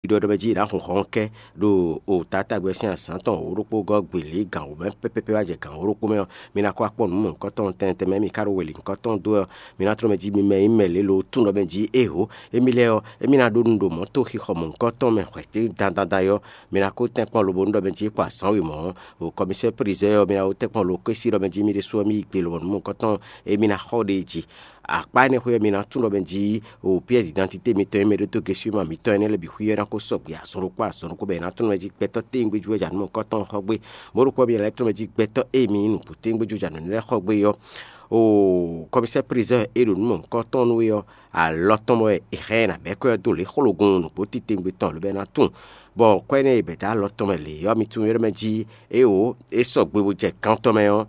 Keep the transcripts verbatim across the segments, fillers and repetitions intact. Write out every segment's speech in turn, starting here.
ɖɔ ɖɔ mɛ jí è nǎ hun hɔn kɛ ɖo o tatágbɛ sín azǎn tɔn wǒ ɖokpó gɔ́ gbělé gǎn wǒ mɛ pɛ́pɛ́pɛ́ wá jɛ gǎn wǒ ɖokpó mɛ ɔ́, mi ná kó akpɔ́ nǔ mɔ̌hunkɔtɔn tɛntɛn mɛ mi ká ɖo wělinkɔtɔn dó ɛ. Mi ná tlɔ́ mɛ jí mi mɛ nyí mɛ lě lo tún ɖɔ mɛ jí éhǒ, émí lɛ́ɛ ɔ́, émí ná ɖó nǔ ɖo mɔ̌ to xixɔ mɔ̌hunkɔtɔn mɛ hwɛ̌ dandan ɔ́, mi ná kó tɛ́nkpɔ́n lobo nú ɖɔ mɛ jí é kpo azǎn wěmɔ̌ ɔ́, ɖo kɔmísɛ́ prizɔ́ ɔ́, mi ná ɖó tɛ́nkpɔ́n lo kɔ́ sí ɖɔ mɛ jí mi ɖésú ɔ́, mi yi gbe lɔmɔ̌ nú mɔ̌hunkɔtɔn e mi ná xɔ ɖe jí. Akpá énɛ́ xwé ɔ́, mi ná tunwun ɖɔ mɛ jí o pièce d'identité mitɔn e mɛ ɖó dó gesúma mitɔn énɛ́ lɛ́ɛ bǐ xwí ɔ́ ná ko sɔgbe azɔn ɖokpó azɔn ɖokpó bɔ è nǎ tunwun mɛ jí gbɛtɔ́ téwúngbéjú wɛ jǎnǔmɔkɔ́tɔn xɔ gbé. Mɔ̌ ɖokpó ɔ́, mi lɛ́ tunwun mɛ jí gbɛtɔ́ e mi nyí nǔgbó téwúngbéjú jǎnǔ lɛ́ɛ xɔ gbé ɔ́, o kɔmísɛ́ prizɔ́n e ɖo nǔ mɔ̌hunkɔtɔn nú we ɔ́, alɔ tɔn mɛ wɛ è hɛn ɛ nǎ bɛ́ kɔ́ ɛ dó lě xlogun nǔgbó titewungbe tɔn lǒbɛ́ ná tunwun. Bɔ kɔ́ énɛ́ e bɛ̌ dó alɔ tɔn mɛ lě ɔ́, mi tunwun é ɖɔ mɛ jí éwo é sɔgbe bó jɛ kan tɔn mɛ ɔ́,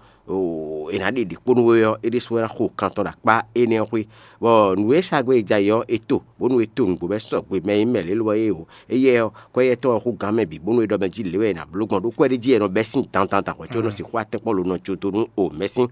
è nǎ ɖe ɖě kpó nú we ɔ́, é ɖésú wɛ ná xo kan tɔn ɖo akpá énɛ́ ɔ́ xwé. Bɔ nǔ e sa gbé e jɛ ayǐ ɔ́, è to, bónú è to nǔgbó bɔ é sɔgbe mɛ e nyí mɛ lě lobɔ é o. Éyɛ́ ɔ́, kɔ́ éyɛ́ tɔn ɔ́ xú gǎn mɛ bǐ, bónú é ɖɔ mɛ jí lě wɛ è nǎ bló gbɔn ɖó kú ɛ ɖé jí è nɔ bɛ́ sín dandan da hwɛ̌ có é nɔ sixú atɛ́nkpɔ́n lo nɔ jó dó nú o mɛ̌ sín.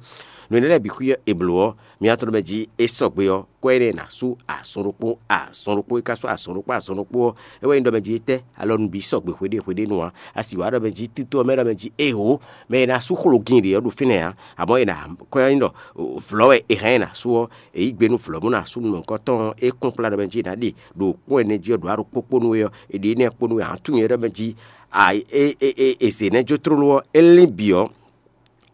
Nǔ énɛ́ lɛ́ɛ bǐ xwí ɔ́, è blǒ ɔ́, mi ná tunwun ɖɔ mɛ jí é sɔgbe ɔ́, kɔ́ énɛ́ ná sú azɔn ɖokpó azɔn ɖokpó, é ka sú azɔn ɖokpó azɔn ɖokpó ɔ́, é wɛ nyí ɖɔ mɛ jí étɛ́ alɔ nǔ bǐ sɔgbe hweɖé hweɖé nu ǎ. A sì wǎ ɖɔ mɛ jí títú ɔ́ mɛ ɖɔ mɛ jí éhǒ, mɛ e ná sú xlogin ɖě ɔ́ ɖo fínɛ́ ǎ. Amɔ̌ è nǎ kɔ́ nyí ɖɔ vlɔ̌ wɛ è hɛn ɛ ná sú ɔ́, è yí gbe nú vlɔ̌ bó ná sú nukɔntɔn e kún kplá ɖɔ mɛ jí è nǎ ɖe ɖo kpɔ́n ɛnɛ jí ɔ́ ɖo aɖókpókpó nú we ɔ́, è ɖe énɛ́ kpó nú we ǎ. Tunwun nyɛ ɖɔ mɛ jí è zě nɛ́ jó tlóló ɔ́, é lín bǐ ɔ́,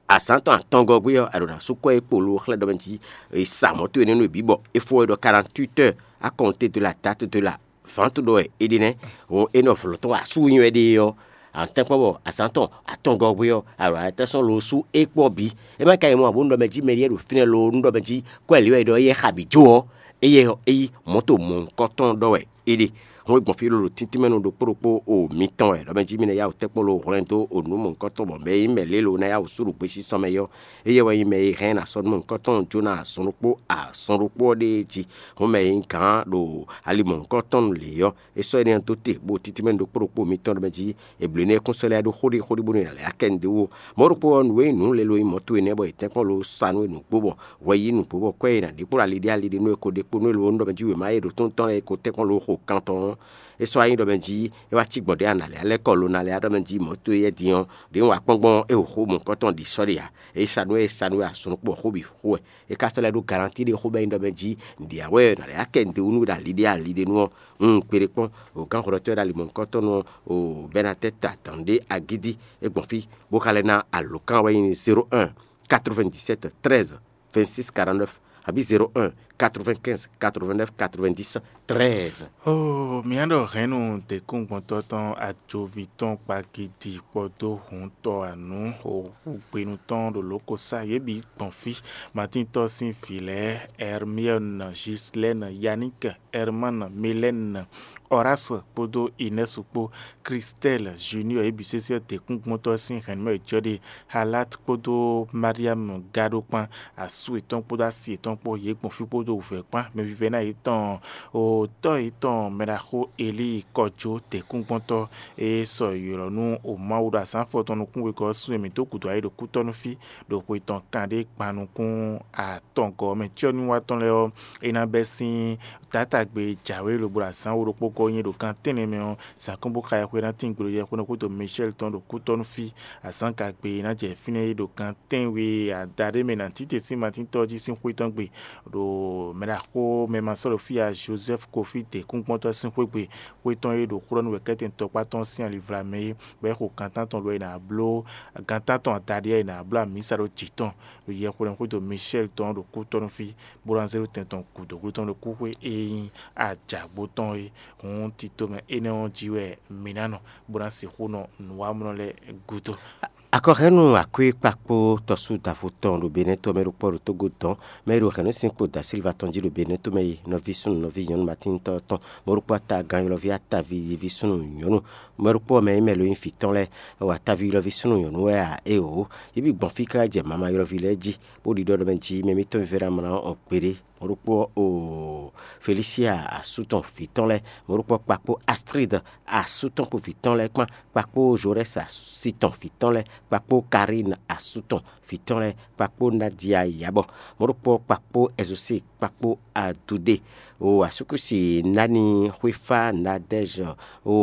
azǎn tɔn atɔngɔ́ gbé ɔ́, a ɖǒ ná sú kɔ́ e kpo lo xlɛ́ ɖɔ mɛ jí è sa mɔ̌ towe nɛ́ nú è bǐ bɔ è fɔ we ɖɔ quarante-huit heures à compter de la date de la vente ɖɔ wɛ è ɖe nɛ́. Hɔn é nɔ vlɔ̌ tɔn wɛ asú nyi wɛ ɖe ɔ́, a nɔ tɛ́nkpɔ́n bɔ azǎn tɔn atɔngɔ́ gbé ɔ́, a ɖǒ ná tɛ́ sɔ́ lo sú é kpɔ́ bǐ. É má ka nyí mɔ̌ ǎ bónú ɖɔ mɛ jí mɛ ɖíe ɖo fínɛ́ lo nú ɖɔ mɛ jí kɔ́ ɛ̌ lě wɛ è ɖɔ éyɛ́ xa bǐ jó ɔ́, éyɛ́ ɔ́, é yí mɔ̌ to mɔ̌hunkɔtɔn ɖɔ wɛ é ɖe. Hɔn é gbɔn fí lolo tíntín mɛ nú ɖokpó ɖokpó o mitɔn wɛ, ɖɔ mɛ jí mi ná yá wǔ tɛ́nkpɔ́n lo hwlɛ́n dó o nǔ mɔ̌hunkɔtɔn bɔ mɛ e nyí mɛ lě lo ná yá wǔ sú ɖo gbesisɔ mɛ é ɔ́, éyɛ́ wɛ nyí mɛ e hɛn ná sɔ́ nú mɔ̌hunkɔtɔn jó ná azɔn ɖokpó azɔn ɖokpó ɔ́ ɖée jí. Hɔn mɛ e nyí gǎn ɖo ali mɔ̌hunkɔtɔn lě ɔ́, é sɔ́ énɛ́ ɔ́ dó te, bó títí mɛ nú ɖokpó ɖokpó mitɔn ɖɔ mɛ jí è blǒ énɛ́ kún sɔ́ lɛ́ɛ ɖó xóɖí xóɖí bónú è nǎ lɛ́ akɛ nǔɖé wú. Mɔ̌ ɖokpó ɔ́, nǔ e nyí nǔ lě lo nyí mɔ̌ towe nɛ́ bɔ è tɛ́nkpɔ́n lo sa nú we nǔgbó bɔ hwɛ yí nǔgbó bɔ kɔ́ e è nǎ ɖe kpó ɖo ali ɖé ali ɖé nú we ko ɖe kpó nú we lo nú ɖɔ mɛ jí wěma e ɖo tóntɔ́n lɛ́ɛ ko tɛ́nkpɔ́n lo xo kan tɔn ɔ́, é sɔ́ wá nyí ɖɔ mɛ jí é wá cí gbɔn ɖě a nǎ lɛ́ alɛ́ kɔ lo ná lɛ́ á ɖɔ mɛ jí mɔ̌ towe yɛ́ din ɔ́, ɖě un wa kpɔ́n gbɔn é xo mɔ̌hunkɔtɔn ɖi sɔ́ ɖe ǎ. É sa nú we é sa nú we azɔn ɖokpó ɔ́ xó bǐ xo wɛ. É ka sɔ́ lɛ́ ɖó galantí ɖé xó bɔ é nyí ɖɔ mɛ jí nǔɖé ǎ wɛ nǎ lɛ́ akɛ nǔɖé wú nú we ɖo ali ɖé ali ɖé nu ɔ́, un kpeɖé kpɔ́n o gǎn hwlɔ́tɔ́ ɖo ali mɔ̌hunkɔtɔn nú ɔ́, o bɛ́ ná tɛ́ ta dǎn ɖé agídí é gbɔn fí bó ka lɛ́ ná alǒkan wɛ nyí zéro un quatre-vingt-dix-sept treize vingt-six quarante-neuf abǐ zéro un quatre-vingt-quinze quatre-vingt-neuf quatre-vingt-dix treize. Oh, mǐ ɖɔ hɛ̌nnu děkúngbɔntɔ́ tɔn ajoví tɔn kpagidi kpódó hǔntɔ anǔ hǔgbénu tɔn ɖo lǒ ko sá yě bǐ gbɔn fí. Matíntɔ́ sín vǐ lɛ́ɛ, Hermione, Gislaine, Yannick, Herman, Mylène, Horace kpódó Inès kpó, Christelle, Junior, yě bǐ sésé ɔ́ děkúngbɔntɔ́ sín hɛ̌nnu mɛ wɛ jɔ ɖe. Halat kpódó Mariam gado kpán, asú yětɔn kpódó asi yětɔn kpó, yě gbɔn fí kpódó wǔvɛ́ kpán, mɛ vívɛ́ná yětɔn, o tɔ́ yětɔn mɛɖaxó Elíi kɔjó děkúngbɔntɔ́ e sɔ ylɔ̌ nú o Mawu ɖo azǎn afɔtɔn nukún wegɔ́ ɔ́ sín e mǐ dó gǔdo ayǐ ɖo kútɔ́ nú fí ɖo xwe tɔn kanɖé gban nukún atɔngɔ́ ɔ́ mɛ. Cyɔ́nywíwá tɔn lɛ́ɛ ɔ́, é ná bɛ́ sín Taátagbe e jǎwe lobo ɖo azǎn wo ɖokpó gɔ́ nyí ɖo gan tɛ́nnɛ mɛ ɔ́, zǎn kɔn bó xa yɛhweɖán tín gbe ɖo yɛhweɖán xwé to Michɛ́li tɔn ɖo kútɔ́ nú fí. Azǎngagbe e ná jɛ fínɛ́ é ɖo gan tɛ́nwe adaɖé mɛ nǎ títɛn sín Matíntɔ́ jí sín xwé tɔn gbe, ɖo mɛɖaxó mɛ ma sɔ́ ɖo fí ǎ Jozɛ́fu Kofí dě kúnkpɔ́ntɔ́ sín xwé gbe. Xwé tɔn e ɖo xó ɖɔ nú wɛ̌kɛ́tɛn tɔkpá tɔn sín alivla mɛ é, bɔ é xo gan tántɔn ɖɔ è nǎ bló gan tántɔn adaɖé ɔ́, è nǎ bló amǐsa ɖó jǐ tɔn ɖo yɛhweɖán xwé to Michɛ́li tɔn ɖo kútɔ́ nú fí, bó ná zé ɖó tɛn tɔn gǔdo xwé tɔn ɖo kúxwé e nyí ajǎgbó tɔn é. Hǔn tito mɛ énɛ́ ɔ́ jí wɛ mi ná nɔ, bó ná sixú nɔ nǔwamlɔ lɛ́ɛ gúdo. Akɔhɛ́nú akwíkpakpó tɔsú dǎvo tɔn ɖo Benɛ́ to mɛ ɖokpó ɖo Tógó dɔn, mɛ e ɖo hɛ̌nnu sín kpo da Silva tɔn jí ɖo Benɛ́ to mɛ yi, nɔví súnnu nɔví nyɔ̌nu Matín tɔn tɔn, mɔ̌ ɖokpó atagán ylɔ́ví ataví yiví súnnu nyɔ̌nu, mɛ ɖokpó ɔ́ mɛ nyí mɛ lo nyí vǐ tɔn lɛ́ɛ, wɔ ataví ylɔ́ví súnnu nyɔ̌nu wɛ a? Éeǒ, yě bǐ gbɔn fí káká jɛ mama ylɔ́ví lɛ́ɛ jí, bó ɖiɖɔ ɖɔ mɛ jí mɛ mítɔn vívɛ́ ná mlá ɔ́ gbeɖé. Mɔ̌ ɖokpó ɔ́, oo, Felisia asú tɔn vǐ tɔn lɛ́ɛ, mɔ̌ ɖokpó ɔ́, kpakpó Astrid asú tɔn kpó vǐ tɔn lɛ́ɛ kpán, kpakpó Zorɛ́si asi tɔn vǐ tɔn lɛ́ɛ, kpakpó Karín asú tɔn vǐ tɔn lɛ́ɛ, kpakpó Nadia Yabɔ, mɔ̌ ɖokpó ɔ́, kpakpó Ɛzosée, kpakpó Adudée, oo, asúkúsi Nani, Xwéfá, Nadɛ́zɔ, oo,